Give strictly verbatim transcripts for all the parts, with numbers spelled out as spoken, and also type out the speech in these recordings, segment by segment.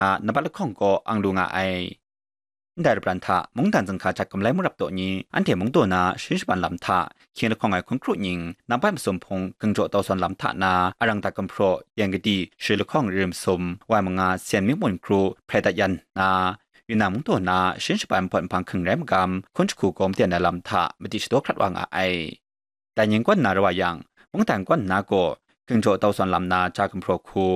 hta nambat lahkawng kaw ang lu nga ai. Ndai lapran hta mungdan zinghka jat gamlai mung rap taw ni, anhte mungdaw na sharin shaban lam hta hkying lahkawng ai hkun kru nying nambat masum hpung gungjaw tau sawn lam hta na arang dat gumhpraw, yan kadi, sharin lahkawng rim sum, wai manga, sen mi mun kru hprai dat yan nna, Yunnan mungdaw na sharin shaban npawt nhpang hking rai magam, hkun jahku gaw maden ai lam hta madi shadaw hkrat wa nga ai. Dai ning kaw nna rau wa yang, mungdan kaw nna gaw, gungjaw tau sawn lam na ja gumhpraw hku,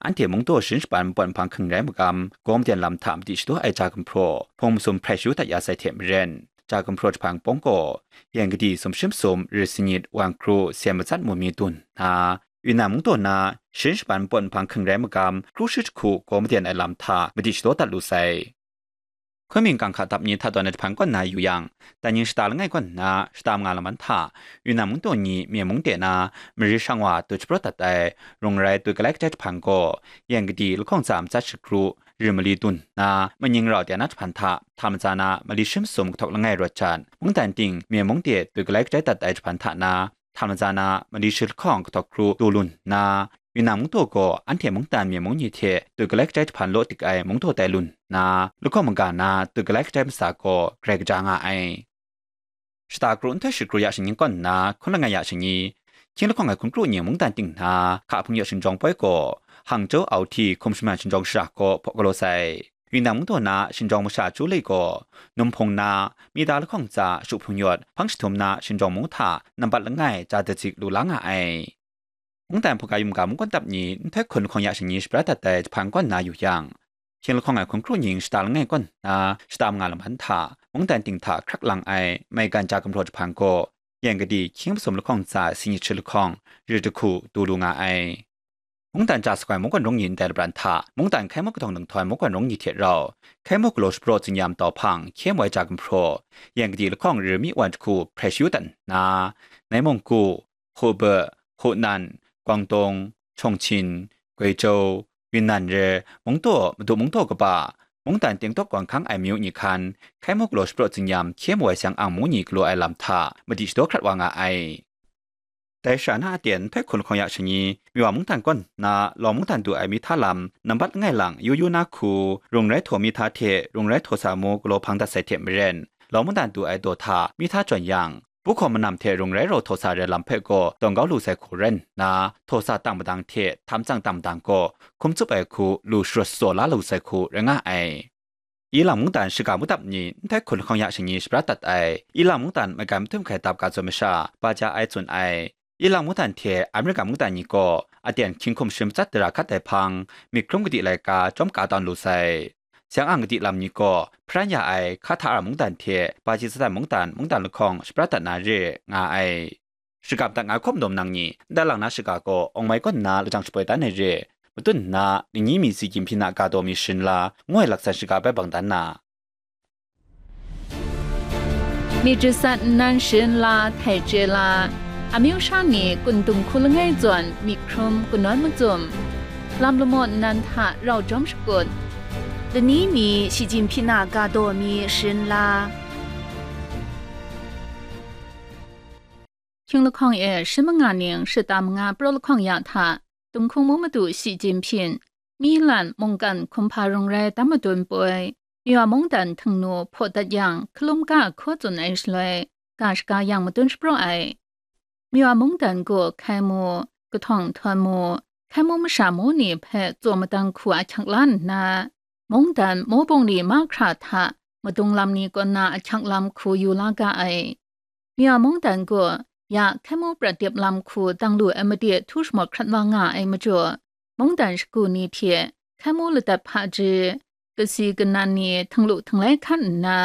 anhte mungdaw sharin shaban npawt nhpang hking rai magam, gaw maden lam hta madi shadaw ai ja gumhpraw, hpung masum hprai shayu dat ya sai hte maren, ja gumhpraw jahpang pawng gaw, yan kadi sumshi masum, rit sanit, wang kru, sen matsat mun mi dun nna, Yunnan mungdaw na sharin shaban npawt nhpang hking rai magam, kru shi jahku gaw maden ai lam hta madi shadaw dat lu sai. Kunming kang hka dap ni hta tawn ai jahpan kaw nna yu yang, dai ning shata langai kaw nna shata manga lam hta, Yunnan mungdaw ni Myen mung de na mari shang wa dut shapraw dat ai, rung rai dut galai kadai jahpan gaw, yan kadi lahkawng tsa matsat shakru rim mali dun nna, maning rau de na jahpan hta, hta matsa na mali shi masum kahtawk langai rawt jat, mungdan ting Myen mung de dut galai kadai dat ai jahpan hta na, hta matsa na mali shi lahkawng kahtawk kru du lun nna, Yunnan mungdaw gaw anhte mungdan Myen mung ni hte dut galai kadai jahpan law dik ai mungdaw tai lun nna, lahkawng maga na dut galai kadai matsa gaw grai kaja nga ai. Shata kru nhtoi shi kru ya shani kaw nna hkun langai ya shani, hkying lahkawng ai hkun kru nying mungdan ting hna, hka hpung yaw shingjawng poi gaw, Hangzhou Auhti hkum shaman shingjawng shara gaw hpaw galaw sai. Yunnan mungdaw na shingjawng masha Chu Lei gaw, num hpung na, mita lahkawng tsa shu hpung yawt hpang jahtum na shingjawng mung hta nambat langai ja dazik lu la nga ai. Mungdan hpaga yum ga mungkan dap ni nhtoi hkun lahkawng ya shani shabra dat ai jahpan kaw nna yu yang, hkying lahkawng ai hkun kru nying shata langai kaw nna shata manga lam hta, mungdan ting hta hkrak lang ai maigan ja gumhpraw jahpan gaw, yan kadi hkying masum lahkawng tsa singyit shi lahkawng rit jahku du lu nga ai. Mungdan ja sakoi mungkan rung ni ndai lapran hta, mungdan hkai muk kahtawng nang htawn mungkan rung ni hte rau, hkai muk galaw shapraw tsinyam tau hpang hkye moi ja gumhpraw, yan kadi lahkawng rit mi wan jahku hprai shayu dat nna, Nai Mung Ku, Hubei, Hunan, Guangdong, Chongqing, Guizhou, Yunnan re, mungdaw, madu mungdaw kaba, mungdan tengtawk gawn hkang ai myu ni hkan, hkai muk galaw shapraw tsinyam hkye moi siang ang mung ni galaw ai lam hta madi shadaw hkrat wa nga ai. Dai shara na aten nhtoi hkun lahkawng ya shani, Miwa mungdan kaw nna Law mungdan du ai mi hta lam nambat langai lang yu yu na hku, rung rai htaw mi hta hte rung rai htaw sa mu galaw hpang dat sai hte maren, Law mungdan du ai daw hta mi hta jawn yang, Buhkaw manam hte rung rai rau htaw sa rai lam hpe gaw tawn kau lu sai hku rai nna, htaw sa tang madang hte htam tsang tang madang gaw hkum tsup ai hku lu sharawt shaw la lu sai hku rai nga ai. Ilang mungdan shiga mudap ni nhtoi hkun lahkawng ya shani shabra dat ai, Ilang mungdan maigan mahtum hkai dap ga zawn masha, ba ja ai tsun ai. Ilang mungdan hte Amerika mungdan ni gaw aten hkying hkum shi matsat dara hkat ai hpang, myit hkrum kadi laika chyawm ka tawn lu sai. Siang ang kadi lam ni gaw hparan ya ai Hkahtara mungdan hte Bajisatan mungdan, mungdan lahkawng shabra dat na re nga ai. Shagam dat nga hkawm dawm nang ni, ndai lang na shiga gaw Awng Mai kaw nna lajang shapoi dan ai re, matun nna, ningyi mi si gyim hpyi na ga daw mi sharin la, ngu ai laksan shiga bai bang dan na. มีจิตสัตว์นั้นเชิญลาไถ่เจลา อามิวชาตินี้กุนตุงคุลง่ายจวนมีครุมกุนน้อยมาจุ่ม ลำละโมดนันทะเราจอมสกุล တနည်းနည်း ရှီကျင်ဖျင်နဂါဒေါ်မီရှင်လာ คิงละคองเอ ชิมงานิง ชิตามงาโปรละคองยาทะ ตุงคุงมุมาดูสีจินผิน มีหลันมงกันคุมพาโรงแรมตามมาตุนปวย มีว่ามงดันถึงหนูโพดัดยัง คลุมก้าโคจุนไอชลวย กาชกายังมาตุนสโปรไอ มีว่ามงดันกัวไคมู กระท่องทอนมู ไคมูมชามูนี่แพะโจมมาตังขัวชักล้านนา มงดันโมบงนี่มาคราทะ มาตุงลำนี้ก็นาชักลำคูอยู่ลากาไอ มีว่ามงดันกัว อยากไคมูประเดียบลำคูตังหลูไอมาเดียทุชหมดครัดว่างาไอมาจ่ว มงดันสกูนี่เทีย ไคมูละตัดพะเจ กะซีกะนันนี่ทั้งหลูทั้งไลคันนา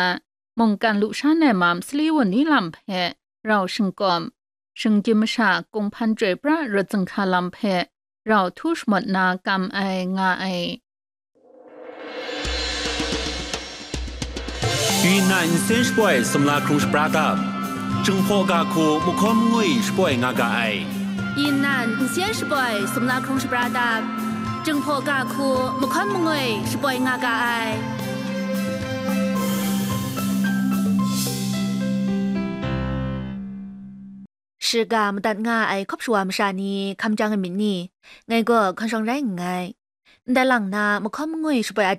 มงกันลุชาแนมามสลีวันนี้ลำแพะ เราชิงกอม ชิงจิมชากงพันจ่วยพระรถจังคาลำแพะ เราทุชหมดนากำไองาไอ Yunnan nsen shapoi sumla hkrung shapra dap, Jinghpaw ga hku mahkawn mangwi shapoi nga ga ai. Yunnan nsen shapoi sumla hkrung shapra dap, Jinghpaw ga hku mahkawn mangwi shapoi nga ga ai. Shiga madat nga ai hkawp shawa masha ni hkam jang ai myit ni? Ngai gaw hkawn shawng rai nngai. Ndai lang na mahkawn mangwi shapoi a